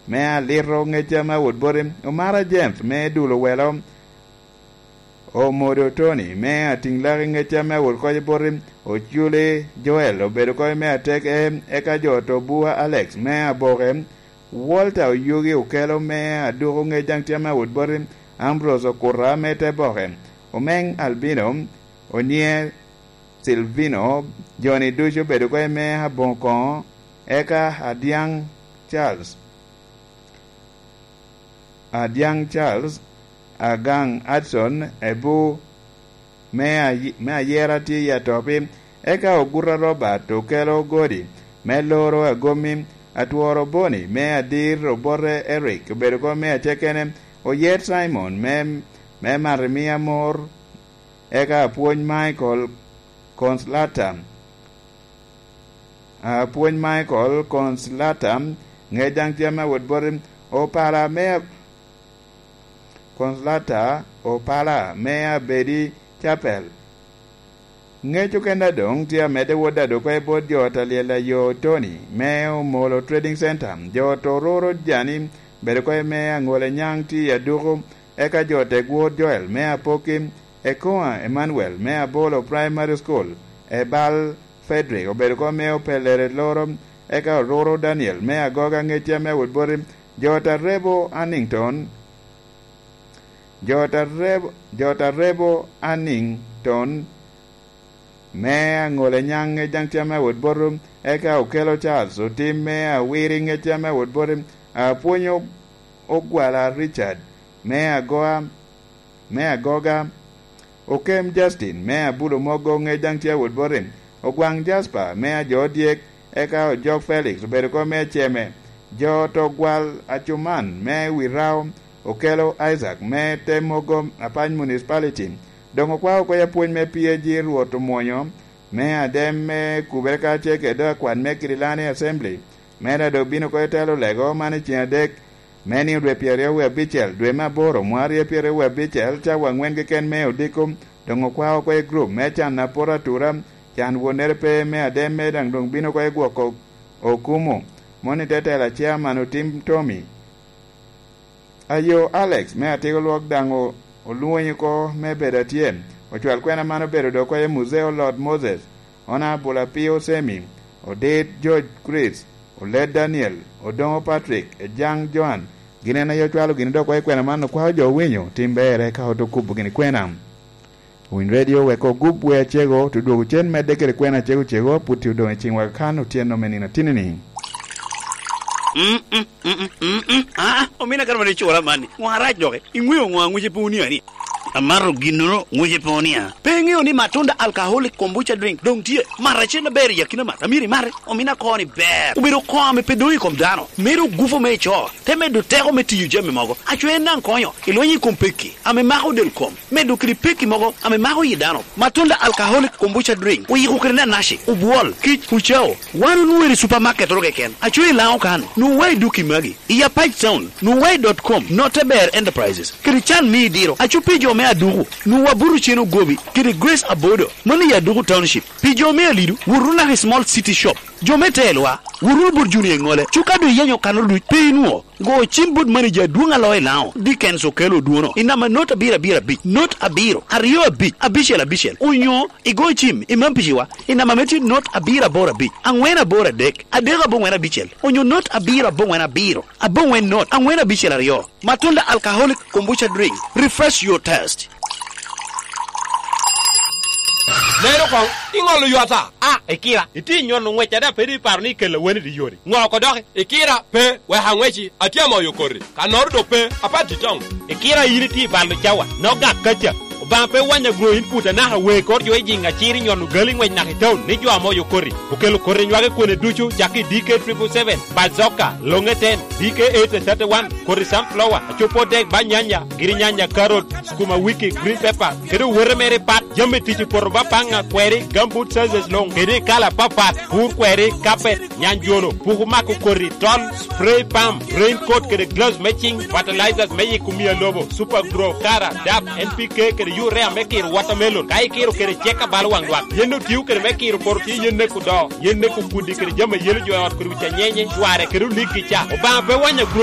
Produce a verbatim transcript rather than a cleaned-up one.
me alito ŋecca me awot boti, Omara James me dulo welo, Omodo Tony me atiŋ laki ŋecca me awot koc boti, Oculi Joel obedo koc me atek e, eka jo Tobua Alex me aboke, Walter Oyugi Okelo me aduko ŋec daŋ tye me awot boti, Ambrose Okuta me te boke, Omeng Albino, Onye Silvino, joni ducu obedo koc me aboŋo koŋo, eka Adiaŋ Charles, Adiaŋ Charles, Agaŋ Adson, Ebu me ayi-, me ayera tye i atopi, eka Oguta Robert Okelo Godi me loro Agomi, Atworo Boni me adir Obote Eric obedo koc me acekene, Oyet Simon me, me Marimia Mor, eka Apwony Michael Conslata, Apwony Michael Conslata, ŋec daŋ tye ame awot boti, Opala me Conslata, Opala me Abedi Chapel. Ŋec okene doŋ tye amedde wot ado oko i bot jo ot a lyel ayo Tony me Omolo Trading Center, jo ot Ororo Jani, bedo oko i me Aŋola Nyaŋ tye i Aduku, eka jo Tegwor Joel me Apoki, Ekoa Emmanuel me Abolo Primary School, Ebal Frederick obedo oko me Opelere Loro, eka Ororo Daniel me Agoga ŋec tye ame awot boti, jo ot Arebo Annington, jo ot Arebo, jo ot Arebo Annington, me Aŋola Nyaŋ ŋec daŋ tye ame awot boti, eka Okelo Charles Otim me Awiri ŋec tye ame awot boti, Apwony Ogwala Richard me Agoa, me Agoga, Okem Justin me Abulo Mogo ŋec daŋ tye awot boti, Ogwaŋ Jasper me Ajo Odyek, eka Ojok Felix obedo oko me Aceme, jo ot Ogwal Acuman me Wirao, Okelo Isaac me Te Mogo Apany Municipality, doŋ okwao oko i apwony me P A G Rwot Omwonyo, me adem me Kubere kacel kede akwan me Kirilani Assembly, me dado obino oko i telo lego man i ceng adek, me nino dwe pyeraryo wie abicel, dwe me aboro, mwaka aryo pyeraryo wie abicel, cawa aŋwen keken me odiko, doŋ okwao oko i gurup me can apot atura, can wonnere pe me adem me daŋ doŋ bino oko i gwoko okumu, moni te tela Chairman Otim Tommy. Ayo Alex me Atiko Lwok daŋ o-, olwoŋi oko me bedo atye. Ocwal kwena man obedo dok oko i Muzeo Lord Moses, Honourable Apio Semi, Odit George Chris, Oled Daniel, Odoŋo Patrick, Ejaŋ Joan. Gin en aye ocwalo gini dok oko i kwena man, okwao jo owinyo tim berre ka oto kubo gini kwena. Winy Radio wek ogup wer acego, te dwogo cen medde kede kwena acego cego, pwod tye odoŋ i ciŋwa kakan otyeno me nino atinni-ni. Mm, mm, mm, mm, mm, mm. Ah, omina kara mani cura mani. Ŋo arac doki? Iŋweo ŋo aŋwice pe unia ni? Amato ginnoro ŋwice pe unia. Pe iŋeo ni Matunda Alcoholic Kombucha Drink doŋ tye? Mat acel aber i akina mat. Amyero imate. Omina koni ber. Obedo koŋ ame pe doŋ i kom dano. Medo gufu me ico. Te medo teko me tiyo jami mogo. Aco en daŋ konyo. Ilwenyo i kom pekki ame mako del kom. Medo kede pekki mogo ame mako yi dano. Matunda Alcoholic Kombucha Drink oyiko kede nanaci, obwol, kic, ucao. Wan onwoŋo i supamaket oro keken. Aco i Laŋo kan, nwoŋo wa i duki magi. I Apac Town, nwoŋo wa i dot com, Note Ber Enterprises. Kede can me idiro, aco pi jo me Aduku, nwoŋo wa buto cen ogobi, kede Grace Abodo, mano i Aduku Township. Pi jo me Alidu, wot wunu naka i Small City Shop. Jo me Telwa, wot wunu bot Junior Eŋole. Cuka doŋ iyenyo kanoro duc, pe inwoŋo. Go cim bot manager adwoŋ a loo i Laŋo, Dickens Okello Odwono, i namba not abiro abiro abic, not abiro, aryo abic, abicel abicel, onyo igo cim i Mampiciwa, i namba me tye not abiro aboro abic, aŋwen aboro adek, adek aboŋwen abicel, onyo not abiro aboŋwen abiro, aboŋwen not, aŋwen abicel aryo. Matunda Alcoholic Kombucha Drink, refresh your taste. Lero koŋ, iŋolo ywata. A, Ikira, itye i nyono ŋwec ada pe doŋ iparo ni ikella weni di yori? Ŋo oko doki? Ikira, pe, wek aŋweci, atye amoyo koti. Kannoro dok pe, apat i town. Ikira, in itye i balo cawa, nok gak kaca. Obaŋa pe wanya gro in put anaka wee kor jo i jiŋ acir i nyono gali ŋwec naka i town ni jo amoyo koti. Okelo koti nywage kwene ducu, cak i D K triple seven, Bazooka, Longe ten, D K eight thirty-one, koti sunflower, acupo dek ba nyanya, giri nyanya, carrot, sukuma wiki, green pepper, kede owote mere pat. Jami tic i poto ba paŋa, kweri, gumboot sizes luŋ, kede i kala papat, pur kweri, carpet, nyanjono, puku mako koti, tol, spray pump, raincoat kede gloves me ciŋ, fertilizers me yiko mia lobo, Super Grow, Kara, dap, N P K kede urea me kiro watermelon, ka ikiro kede cek abalo waŋ lwak. Yen otio kede me kiro poto tye yen neko do, yen neko kudi kede jami a yelo jo i ot kodi wic anyenye, cware kede olik-gi ca. Obaŋa pe wanya gro